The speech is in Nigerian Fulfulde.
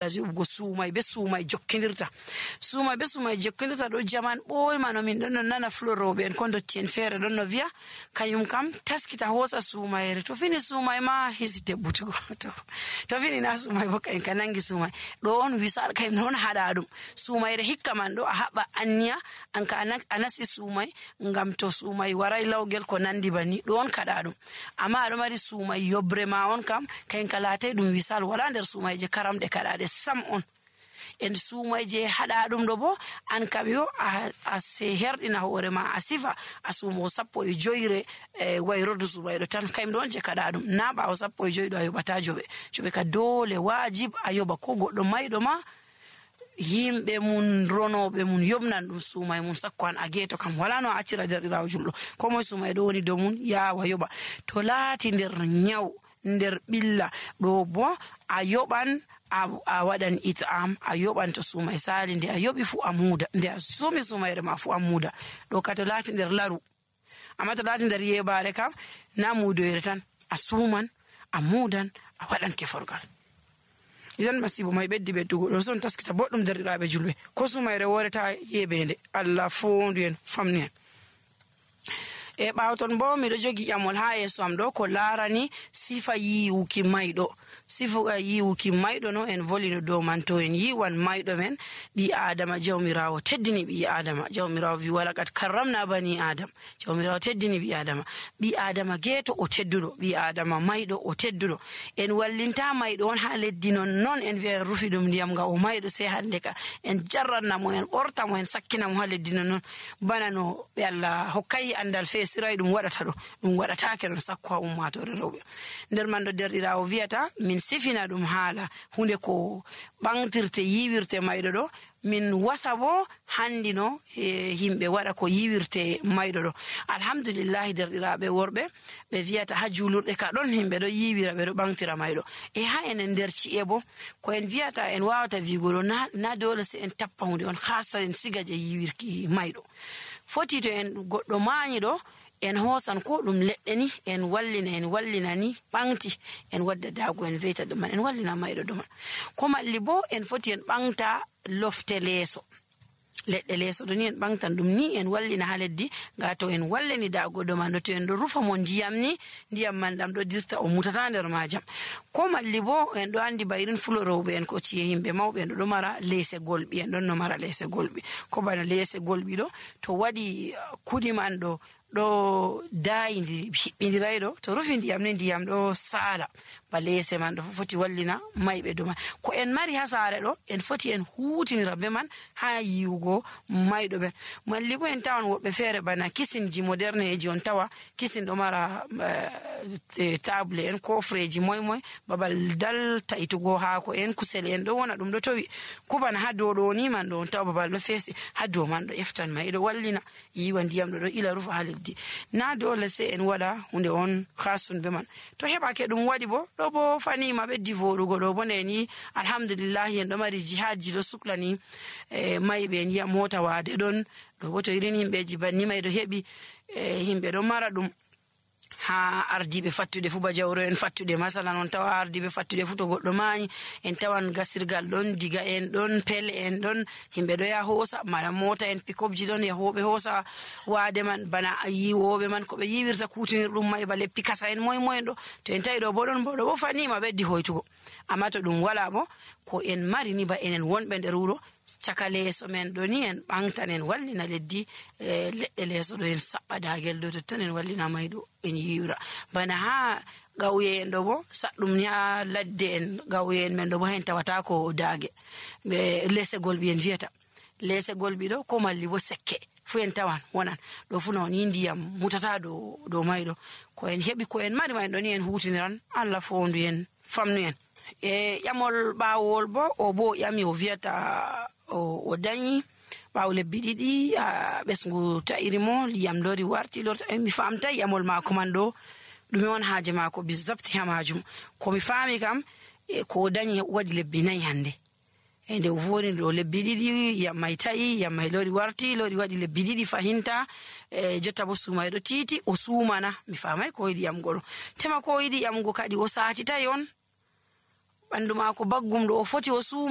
juɓugo suumay be suumay jokkindirta ɗo jaman ɓoymano min ɗon no nana fuloroɓe en ko dotti en feere ɗon no wiya kayum kam taskita hoosa suumayre to fini suumay ma hisi tebbutugo to fini na suumay bo kayen ka nangi suumay ɗo on wisal kayum non haɗa ɗum suumayre hikka man ɗo a haɓa anniya an ka a nasi suumay ngam to suumay waray lawgel ko nandi bani ɗo on kaɗa ɗum amma aɗo mari suumay yobre ma on kam kayen ka laatay ɗum wisal wala nder suumay je karamɗe kaɗaɗe sam on en suumay je haɗa ɗum ɗo bo an kam yo a se herɗina hoore ma a sifa a suumo 15 wayrodu suumay ɗo tan kayum ɗo on je kaɗa ɗum na ɓawo 15 ɗo a yoɓata joɓe ka dole wajib a yoɓa ko goɗɗo mayɗo ma yimɓe mun ronoɓe mun yobnan ɗum suumay mun sakko an a geeto kam wala no a accira derɗirawo julɗo ko moye suumay ɗo woni dow mun yawa yoɓa to laati nder nyaw nder ɓilla ɗo bo a yoɓan a waɗan it'am a yoɓan to suumay sali nde a yoɓi fu a muuda nde a suumi suumayre ma fu a muuda ɗo ka to laati nder laru amma to laati nder yebare kam na muudoyre tan a suuman a muudan a waɗan keforgal idan masibo may beddugo ɗo son taskita boɗɗum derɗiraɓe julɓe ko suumayre woreta yeɓende Allah fondu en famni en e ɓawton bo miɗo jogi ƴamol ha yeso am ɗo ko larani sifa yiwuki mayɗo sifa yiwuki mayɗo no en volino dow man to en yiwan mayɗo men ɓi adama jawmirawo teddini ɓi adama jawmirawo wi walaqad karramna bani adam jawmirawo teddini ɓi adama geeto o tedduɗo ɓi adama mayɗo o tedduɗo en wallinta mayɗo on ha leddi non en wi'a en rufi ɗum ndiyam nga o mayɗo sey hande ka en jarratnamo en ɓortamo en sakkinamo ha leddi non bana no ɓe Allah hokkayi andal siray ɗum waɗata ɗo ɗum waɗatake ɗon sakko ha ummatore rewɓe nder man ɗo derɗirawo wiyata min sifina ɗum haala hunde ko ɓangtirte yiwirte mayɗo ɗo min wasa bo handi no himɓe waɗa ko yiwirte mayɗo ɗo alhamdulillahi derɗiraɓe worɓe ɓe wiyata ha julurɗe ka ɗon himɓe ɗo yiwira ɓe ɗo ɓangtira mayɗo e ha enen nder ci'e bo ko en wiyata en wawata wigo ɗo na dole se en tappa hunde on hasa en siga je yiwirki mayɗo foti to en goɗɗo mañi ɗo en hoosan ko ɗum leɗɗe ni en wallina ni ɓangti en wadda daago en veyta ɗuman en wallina mayɗo ɗuman ko malli bo en foti en ɓangta lofte leeso leɗɗe leeso ɗo ni en ɓangtan ɗum ni en wallina ha leddi ga to en wallini daago ɗo man ɗo to en ɗo rufa mo ndiyam ni ndiyam man ɗam ɗo dirta o mutata nder majam ko malli bo en ɗo andi ba irin fulorowɓe en ko ciye yimɓe mawɓe en ɗo mara leese golɓi en ɗon no mara leese golɓi ko bana leese golɓi ɗo to waɗi kuɗi man ɗo daayi hiɓɓindiray ɗo to rufi ndiyam ni ndiyam ɗo saala ba leese man ɗo foti wallina mayɓe ɗo man ko en mari ha saare ɗo en foti en huutinira be man ha yiwugo mayɗo ɓen malli bo en tawan woɓɓe feere bana kisinji moderne eji on tawa kisin ɗo mara table en kofreji moy babal dal ta'itugo haako en kusel en ɗo wona ɗum ɗo towi ko bana ha dow ɗo ni man ɗo on tawa babal ɗo feesi ha dow man ɗo eftan ma iɗo wallina yiwa ndiyam ɗo ila rufa ha leddi na dole se en waɗa hunde on hasun be man to heɓake ɗum waɗi bo ɗo bo fanima ɓeddi voɗugo ɗo bo ndeni alhamdulillahi en ɗo mari jihadji ɗo suklani mayɓe en yiya mota wade ɗon ɗo bo to irin himɓeji banni may ɗo heɓi himɓe ɗo mara ɗum ha ardiɓe fattude fu ba jawro en fattude masalan on tawa ardiɓe fattude fu to goɗɗo mañi en tawan gasirgal ɗon diga en ɗon pelle en ɗon himɓe ɗo yaha hoosa mala mota en pikopji ɗon yahoɓe hoosa waade man bana yiwoɓe man ko ɓe yiwirta kutinir ɗum may ba leppi kasa en moy ɗo to en tawi ɗo bo ɗon bo ɗo bo fanima ɓeddi hoytugo amma to ɗum wala bo ko en mari ni ba enen wonɓe nder wuro caka leeso men ɗo ni en ɓangtan en wallina leddi leɗɗe leeso ɗo en saɓɓa daagel ɗo totton en wallina mayɗo en yiwra bana ha gawye en ɗo bo saɗɗum ni ha ladde en gawye en men ɗo bo hen tawata ko daage ɓe leese golɓi en wiyata leese golɓi ɗo ko malli bo sekke fu en tawan wonan ɗo fu non ni ndiyam mutata dow mayɗo ko en heɓi ko en mari may ɗo ni en hutiniran Allah fondu en famnu en e ƴamol ɓawol bo o bo ƴami o wiyata o dañi ɓawo lebbi ɗiɗi ɓesgu ta'iri mo liyam lori warti mi famtai ƴamol mako man ɗo ɗume on haaje mako bizabti ha majum ko mi fami kam ko dañi waɗi lebbi 4 hande e nde o voni ɗo lebbi ɗiɗi yam may ta'i yam may lori warti lori waɗi lebbi ɗiɗi fahinta jotta bo sumayɗo titi o sumana mi famai ko yiɗi ƴamgo ɗo tema ko yiɗi ƴamgo kadi o satitayi on ɓandu mako baggum ɗo o foti o suma